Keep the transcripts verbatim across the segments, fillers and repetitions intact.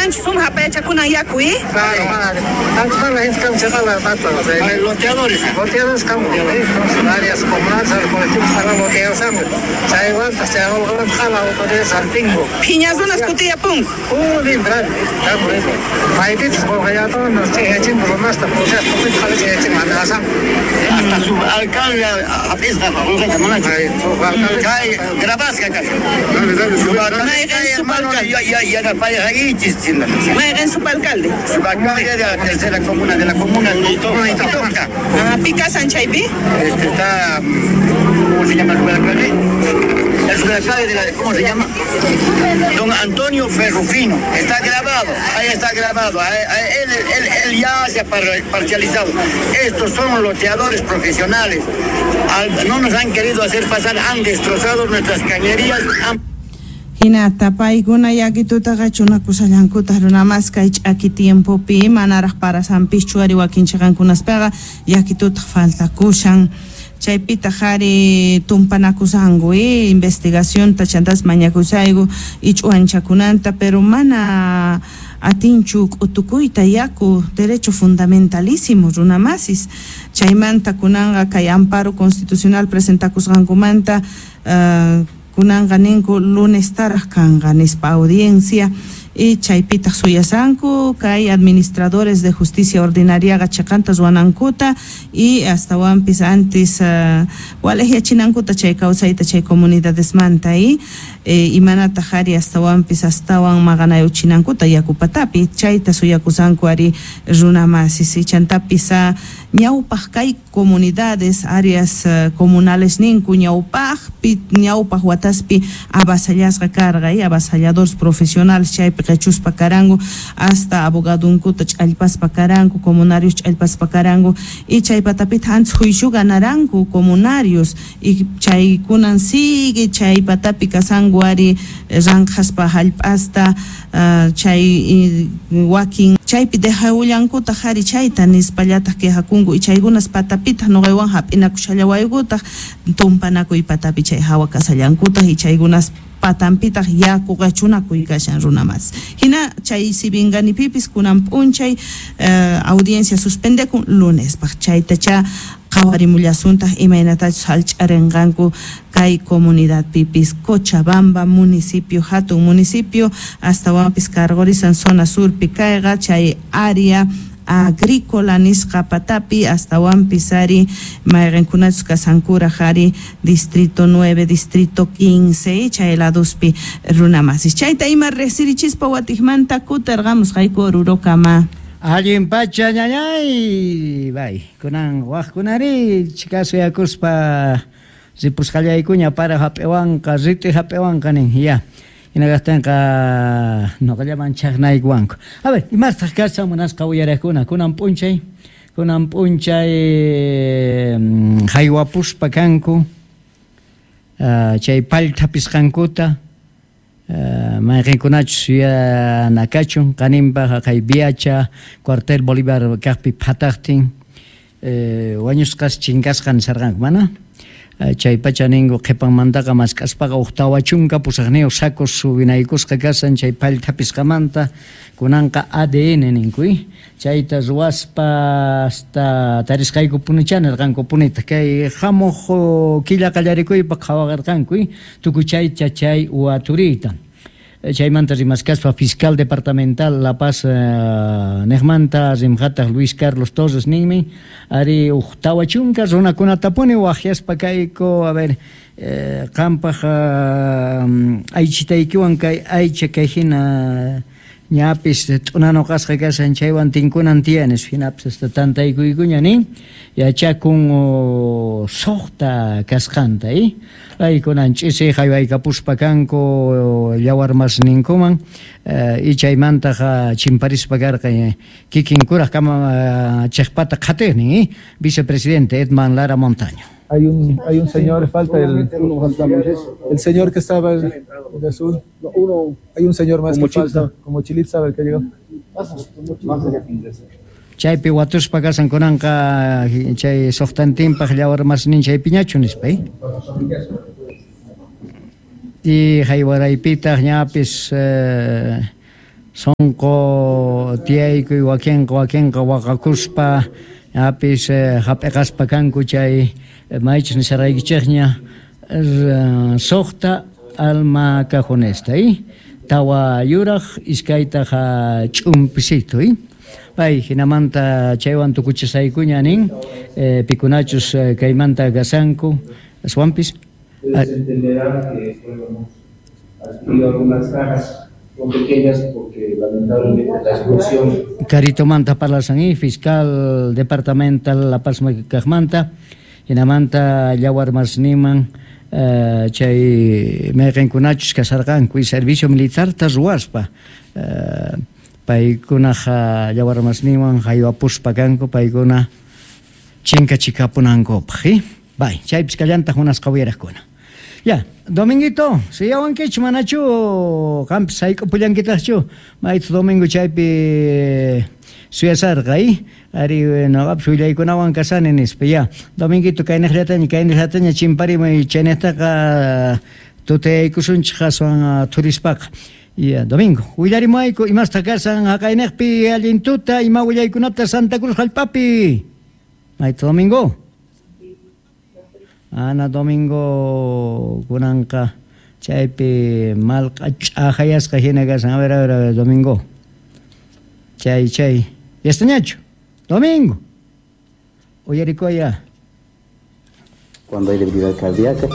Kashanchu sumaq apayachakunan yaku, ¿eh? Claro, antes para la gente que loteadores. Loteadores como varias comunidades, colectivos están loteados. Chaywanta, chaywanta, autoridades al pingo. Phiñasunas kutiyapun. Uy, bravo. Maypitas qolqallatawan chayachin runasta pushaspa qhalichayachin mandasan. Hasta su alcalde hap'isqa qolqata manachu. Kay grabasqa kashan. Mayqin subalcalde. Yanapayqaykichis. Mayqin subalcalde. Subalcalde de la tercera comuna de la comuna de Itoca. Ah, pi kasan chaypi? Este está, ¿cómo se llama el subalcalde? El subalcalde de la, ¿cómo se llama? Don Antonio Ferrufino. Está grabado, ahí está grabado. Ahí, ahí, él, él, él ya se ha parcializado. Estos son loteadores profesionales. Al, no nos han querido hacer pasar, han destrozado nuestras cañerías. Han... Hinata paykuna yakitutaqa chunakusallankutaq runamas kay ch'aki tiempopi manaraq parasanpischu ari wakin chiqankunaspaqa yakitutaq faltakushan. Chaypitaq ari tumpanakusanku, eh, investigacionta chantas mañakusayku ich'uanchakunanta, pero mana atinchu k'utukuyta yaku derecho fundamentalísimo runamasis. Chaymanta kunanqa kay amparo constitucional presentakusqankumanta uh, kunanqa ninku lunes taraq kanqa nispa audiencia y chaypitaq suyasanku kay administradores de justicia ordinariaqa chiqanta ruwanankuta y astawanpis antes uh, walejyachinankuta chay kawsayta chay comunidadesmanta y eh, imanataq ari astawanpis astawan maqanayuchinankuta yakupatapi chayta suyakusanku ari runamasis y chantapis uh, ñawpaq kay comunidades áreas uh, comunales ninku ñawpaqpi ñawpaq wataspi avasallasqa karqa y avasalladores profesionales chaypi qechuspa karanku hasta abogadunkuta ch'allpaspa karanku comunarios ch'allpaspa karanku y chay patapita antes juicio ganaranku comunarios y chaykunan sigue chay patapi kasanku ari ranqhaspa hallp'asta uh, chay wakin chaypi dejawullankutaq ari chayta nispallataq quejakunku y chaykunas patapitaq nuqaywan hap'inakushallawaykutaj tumpanakuy patapi chay hawa kasallankutaq y chaykunas patanpitaq yaku qachunakuy kashan runamas. Hina chay sibinganipipis kunan p'unchay uh, audiencia suspendekun lunespaq chaytacha qhawarimullasuntaq imaynatachus hallch'arinqanku kay comunidadpipis Cochabamba municipio hatun municipio astawanpis cargorisan zona surpi kayqa chay área agrícola nisqa patapi astawanpis ari mayqinkunachus kasankuraq ari distrito nueve, distrito quince chay laduspi runamasis. Chayta ima riqsirichispa watiqmanta kutirqamusqayku Orurokama. Allin pacha ñañay bay kunan waqkunari chikasuyakuspa ripusqallaykuña para hap'iwanqa riti hap'iwanqa nin ya. Hinaqtinqa noqallaman chaqnaykuwanku. A ver, imastaq kashan munasqa uyariqkuna kunan p'unchay kunan p'unchay haywapuspa kanku uh, chay pallthapisqankuta uh, mayqinkunachus yuyanakachun qaninpaq kay Viacha cuartel Bolívar kaqpi phataqtin eh, wañusqas chinkasqa nisarqanku mana chay pacha ninku qhipanmantaqa mask'aspaqa huk tawa chunka pusaqniyuq sacos subinaykusqa kasan chay pallthapisqamanta kunanqa A D N ninku chayta ruwaspa hasta tarisqayku punicha nirqanku punita kay hamuq killa qallarikuypaq qhawaqarqanku tukuy chaycha chay waturiyta. Chaymanta rimaskaspa fiscal departamental La Paz uh, niqmanta rimqataq Luis Carlos Torres ninmi ari huk tawa chunka runakunatapuni waqyaspa kayku a ver eh, qampaq uh, aychitaykiwan kay aycha kay hina ñapis t'unanuqasqa kashan chaywan tinkunan tiyanis hinapis hasta tantaykuykuña nin yachakun suqta kasqanta eh? Aykunan ch'isi haywaykapuspa kanku llawarmasninkuman y chaymantaqa chimparispa karqa kikin kuraq kama chiqpata qhatiqnin eh? Vicepresidente Edman Lara Montaño. Hay un, hay un señor, falta el, el señor que estaba el, de azul. Uno, hay un señor más que falta, como Chilit sabe el que llegó. Chaypi watuspa kasan kunanqa chay suqtantinpaq llawarmasnin chaypiñachu nispa eh? Y haywaraypitaq ñapis eh, Sonqo tiyaykuy wakinqa wakinqa waqakuspa apis hap'iqaspa kanku chay maychus nisharaykichikña suqta alma cajonesta y tawa yuraq iskaytaq ch'umpisito y pay hinamanta chaywan tukuchisaykuña nin eh, pikunachus kaymanta gasanku aswanpis. Ustedes entenderán que bueno, hemos adquirido algunas cajas, son pequeñas porque lamentablemente la explosión. Caritomanta parlasan y fiscal departamental La Paz kajmanta hinamanta llawarmasniman uh, chay mayqinkunachus kasarqanku y servicio militar ta ruwaspa uh, paykunaqa llawarmasniwan haywapuspa kanku paykuna chinkachikapunankupaq y bay chaypis kallantaq munasqa uyaraqkuna. Ya, Dominguito, suyawankichu manachu qampis sayk'upullankitaqchu maytu domingo chaypi suyasarqa y ari noqapis willaykunawan kasani nispa. Ya, Dominguito kaynaqllataña kaynaqllataña chimparimuy chaynaqtaqa tutayaykusunchik aswan thurispaqa. Ya, Domingo, willarimuayku imasta kasan haqaynaqpi allin tuta ima willaykunata Santa Cruz hallp'api. Maytu Domingo. Ana Domingo kunanqa chaypi malqa ch'aqayasqa hina kasan. A ver, a ver, a ver, Domingo. Chay, chay. ¿Yastañachu? Domingo. Uyarikuya. Cuando hay debilidad cardíaca.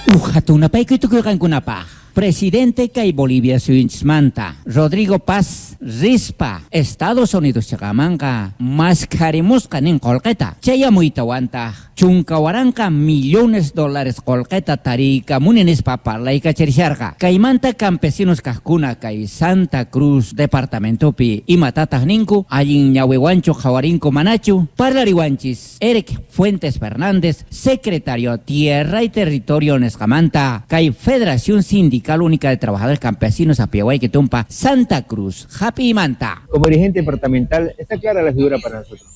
Ujatunapaykuy tukuyqankunapaq. Presidente kay Bolivia suyunchismanta Rodrigo Paz rispa Estados Unidos chaqamanqa maskharimusqa nin qolqeta chayamuytawantaq chunka waranqa millones dólares qolqeta tariykamuni nispa parlaykachisharqa kaymanta campesinos kaqkuna kay Santa Cruz departamentopi imatataq ninku allin ñawiwanchu qhawarinku manachu parlariwanchis Eric Fuentes Fernández secretario Tierra y Territorio nisqamanta kay Federación Sindical Única de Trabajadores Campesinos Apiahuay Tumpa, Santa Cruz, Japi Manta. Como dirigente departamental, está clara la figura para nosotros.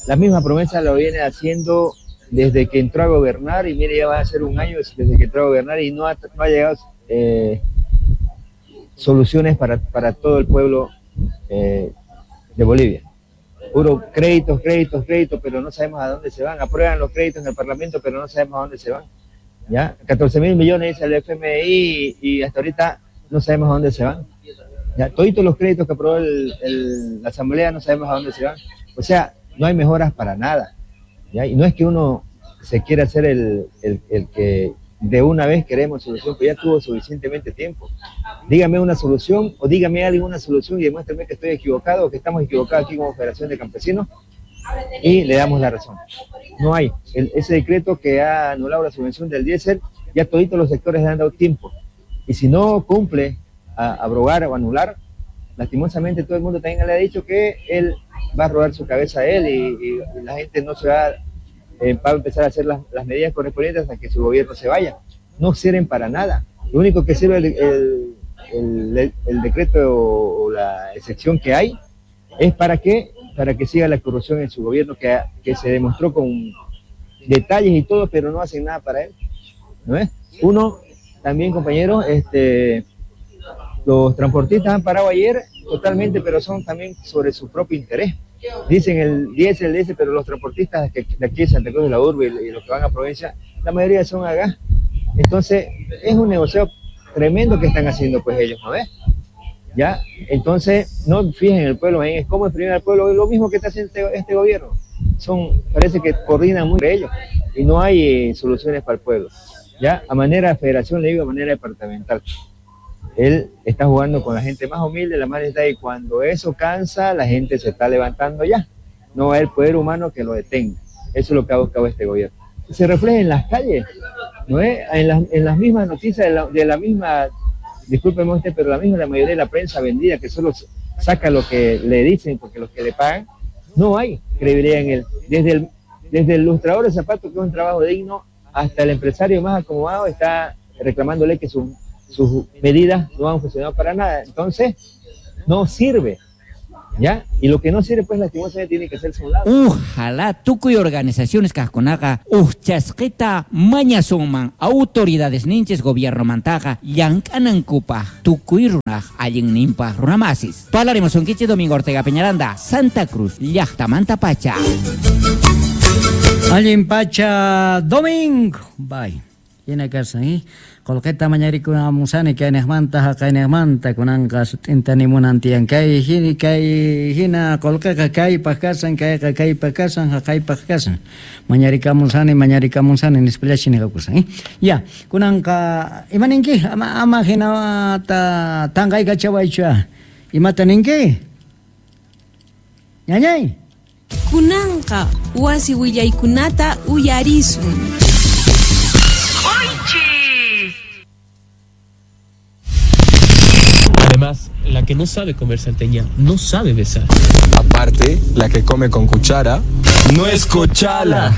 La misma promesa lo viene haciendo desde que entró a gobernar, y mire, ya va a ser un año desde que entró a gobernar y no ha, no ha llegado eh, soluciones para, para todo el pueblo eh, de Bolivia. Puro créditos, créditos, créditos, pero no sabemos a dónde se van. Aprueban los créditos en el Parlamento, pero no sabemos a dónde se van. ¿Ya? catorce mil millones dice el F M I y, y hasta ahorita no sabemos a dónde se van. ¿Ya? Toditos los créditos que aprobó el, el, la Asamblea no sabemos a dónde se van. O sea, no hay mejoras para nada. ¿Ya? Y no es que uno se quiera hacer el, el, el que de una vez queremos solución, pero ya tuvo suficientemente tiempo. Dígame una solución o dígame alguien una solución y demuéstrame que estoy equivocado o que estamos equivocados aquí como Federación de Campesinos y le damos la razón. No hay. El, ese decreto que ha anulado la subvención del diésel, ya toditos los sectores le han dado tiempo. Y si no cumple a abrogar o anular, lastimosamente todo el mundo también le ha dicho que él va a robar su cabeza a él y, y, y la gente no se va, eh, va a empezar a hacer las, las medidas correspondientes hasta que su gobierno se vaya. No sirven para nada. Lo único que sirve el, el, el, el decreto o, o la excepción que hay es para que para que siga la corrupción en su gobierno, que, que se demostró con detalles y todo, pero no hacen nada para él, ¿no es? Uno, también, compañeros, este, los transportistas han parado ayer totalmente, pero son también sobre su propio interés. Dicen el diésel, el diésel, pero los transportistas de aquí de Santa Cruz de la Urbe y los que van a provincia, la mayoría son a gas. Entonces, es un negocio tremendo que están haciendo pues ellos, ¿no ves? ¿Ya? Entonces, no fijen el pueblo, es como exprimir al pueblo, es lo mismo que está haciendo este, este gobierno. Son, parece que coordinan muy entre ellos y no hay eh, soluciones para el pueblo. ¿Ya? A manera de federación, le digo, a manera departamental. Él está jugando con la gente más humilde, la más necesitada, y cuando eso cansa, la gente se está levantando ya. No va a haber poder humano que lo detenga. Eso es lo que ha buscado este gobierno. Se refleja en las calles, ¿no es? En las, en las mismas noticias de la, de la misma, discúlpeme usted, pero la misma, la mayoría de la prensa vendida, que solo saca lo que le dicen porque los que le pagan, no hay credibilidad en él. Desde el, desde el lustrador de zapatos, que es un trabajo digno, hasta el empresario más acomodado está reclamándole que su, sus medidas no han funcionado para nada. Entonces, no sirve. ¿Ya? Y lo que no sirve, pues, lastimosamente tiene que hacerse a un lado. Ojalá tukuy organizaciones kajkunaqa ujchasqita mañasunman autoridades ninchis gobierno mantaqa llank'anankupaj tukuy runaj allinninpaj runamasis. Parlaremos unkichis Domingo Ortega Peñaranda, Santa Cruz, llaqtamanta pacha. Allin pacha Domingo. Bye. Hina kasan, eh? Qolqeta mañarikunamusani kaynejmanta haqaynejmanta kunanqa sut'inta nimunan tiyan kay hina kay hina qolqeqa kaypaq kasan kayqa kaypaq kasan haqaypaq kasan mañarikamusani mañarikamusani nispallachi niqakusan, eh? Ya, kunanqa imaninki ama ama hinata tanqaykachawaychu imata ninki ñañay. Kunanqa wasi willaykunata uyarisun. Además, la que no sabe comer salteña no sabe besar. Aparte, la que come con cuchara no es cochala.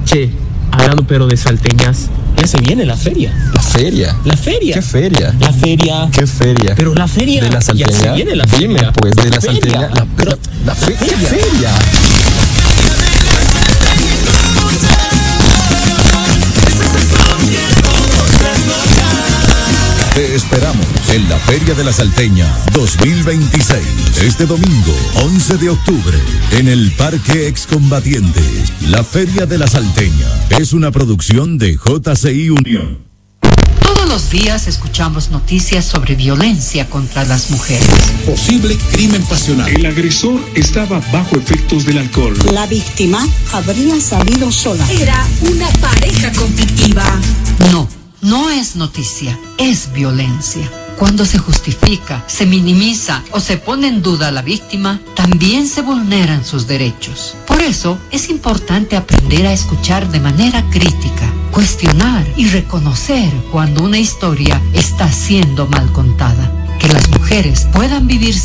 Che, hablando pero de salteñas, ya se viene la feria. ¿La feria? La feria. ¿Qué feria? La feria. ¿Qué feria? Pero la feria. ¿De la salteña? Ya se viene la feria. Dime, pues, de la, la salteña. La, pero, la, la fe feria. ¿Qué feria? Te esperamos en la Feria de la Salteña dos mil veintiséis, este domingo once de octubre, en el Parque Excombatientes. La Feria de la Salteña es una producción de J C I Unión. Todos los días escuchamos noticias sobre violencia contra las mujeres. Posible crimen pasional. El agresor estaba bajo efectos del alcohol. La víctima habría salido sola. Era una pareja conflictiva. No. No es noticia, es violencia. Cuando se justifica, se minimiza o se pone en duda a la víctima, también se vulneran sus derechos. Por eso es importante aprender a escuchar de manera crítica, cuestionar y reconocer cuando una historia está siendo mal contada. Que las mujeres puedan vivir